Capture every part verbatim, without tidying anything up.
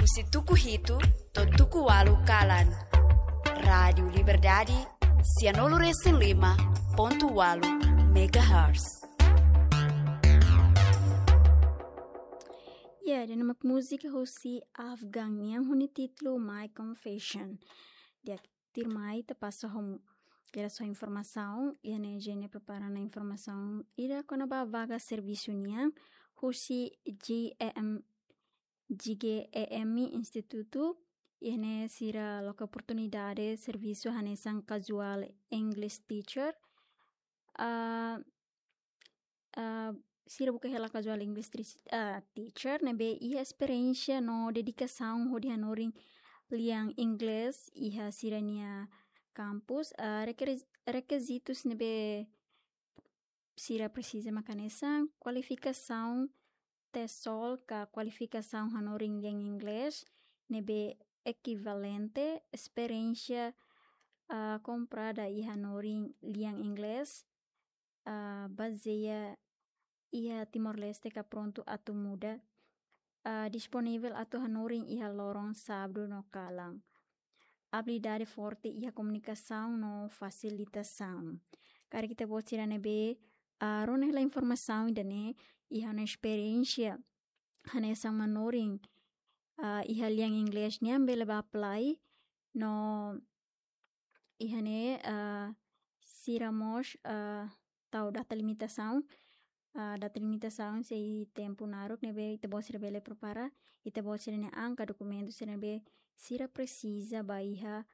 Husi tuku hitu to'o tuku ualu kalan. Rádiu Liberdade, sianulu resin lima pontu ualu megahertz. Ya, ida-ne'e mak múzika husi Afgan nian ho nia títulu My Confession. Di'ak, tuirmai ita pasa ho, kira só informasaun, iha ne'e Eugenia prepara ona informasaun ida kona-ba vaga servisu nian, husi G E M, G G E M Institutu, iha ne'e sira loke oportunidade servisu hanesan casual English teacher. Ah, ah, sira buka hela casual English tri-, ah, teacher ne'ebé iha esperiénsia no dedikasaun hodi hanorin lian Inglés iha sira-nia kampus. Ah, rekere-, rekizitus ne'ebé sira presiza mak hanesan kualifikasaun TESOL ka kualifikasaun hanorin lian Inglés ne'ebé ekivalente, esperiénsia, ah, komprada iha hanorin lian Inglés, ah, bazeia iha Timor-Leste ka prontu atu muda, ah, disponivel atu hanorin iha loron sábadu no kalan. Abilidade forte iha komunikasaun no fasilitasaun. Karik ita-boot sira ne'ebé, ah, rona hela informasaun ida-ne'e, iha ona esperiénsia hanesan manorin, ah, iha lian Inglés nian bele bá apply no iha ne'e, ah, sira mós, ah, tau data limitasaun, ah, data limitasaun sei tempu naruk ne'ebé ita-boot sira bele prepara ita-boot sira-nia an ka dokumentu sira ne'ebé sira presiza ba iha,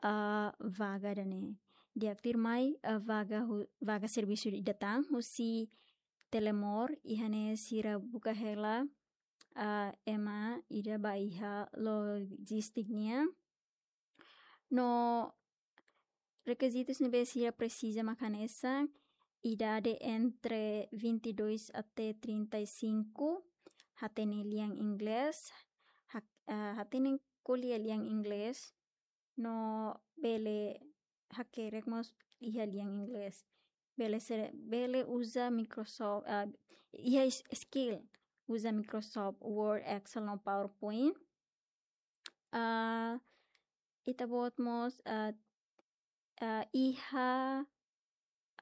ah, vaga ida-ne'e. Di'ak, tuirmai, ah, vaga hu-, vaga servisu ida tan husi Telemor, iha ne'e sira buka hela, ah, ema ida ba iha lojistik nian. No rekizitus ne'ebé sira presiza mak hanesan idade entre vinte e dois até trinta e cinco, hatene lian Inglés, ha-, ah, hatene ko'alia lian Inglés, no bele hakerek mós iha lian Inglés. Bele ser, bele uza Microsoft, ah, iha s-, skill uza Microsoft Word, Excel no PowerPoint. Ah, ita-boot mós, ah, ah, iha,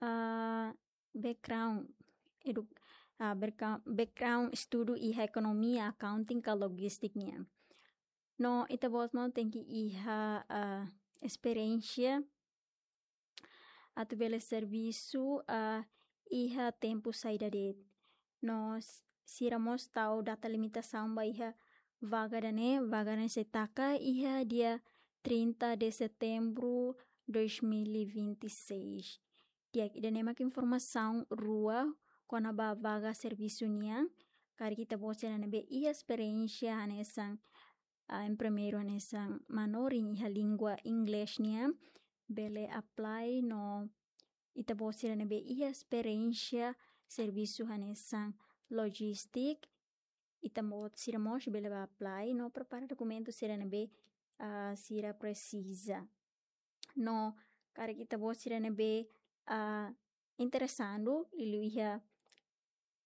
ah, background edu-, ah, background, background estudu iha ekonomia, accounting ka lojistik nian. No ita-boot mós tenke iha, ah, esperiénsia atu bele servisu, ah, iha tempu saida de'it. No s-, sira mós tau data limitasaun ba iha vaga ida-ne'e, vaga ne'e sei taka iha dia trinta de setembro dois mil e vinte e seis. Di'ak, ida-ne'e mak informasaun rua kona-ba vaga servisu nian. Karik ita-boot sira ne'ebé iha esperiénsia hanesan, ah, em primeiru hanesan manorin iha língua Inglés nian bele apply no ita-boot sira ne'ebé iha esperiénsia servisu hanesan lojistik, ita-boot sira mós bele bá apply no prepara dokumentu sira ne'ebé, ah, sira presiza. No karik ita-boot sira ne'ebé, ah, interesadu liuliu iha,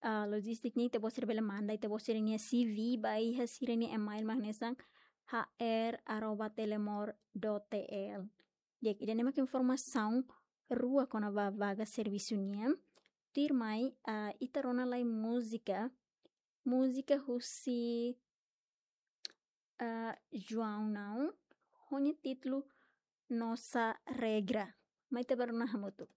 ah, lojistik nian, ita-boot sira bele manda ita-boot sira-nia C V ba iha sira-nia email mak hanesan H R arroba telemor dot T L. Di'ak, ida-ne'e mak informasaun rua kona-ba vaga servisu nian. Tuirmai, ah, ita rona lai múzika, múzika husi, ah, João Nau, ho nia títulu Nossa Regra. Mai ita bá rona hamutuk.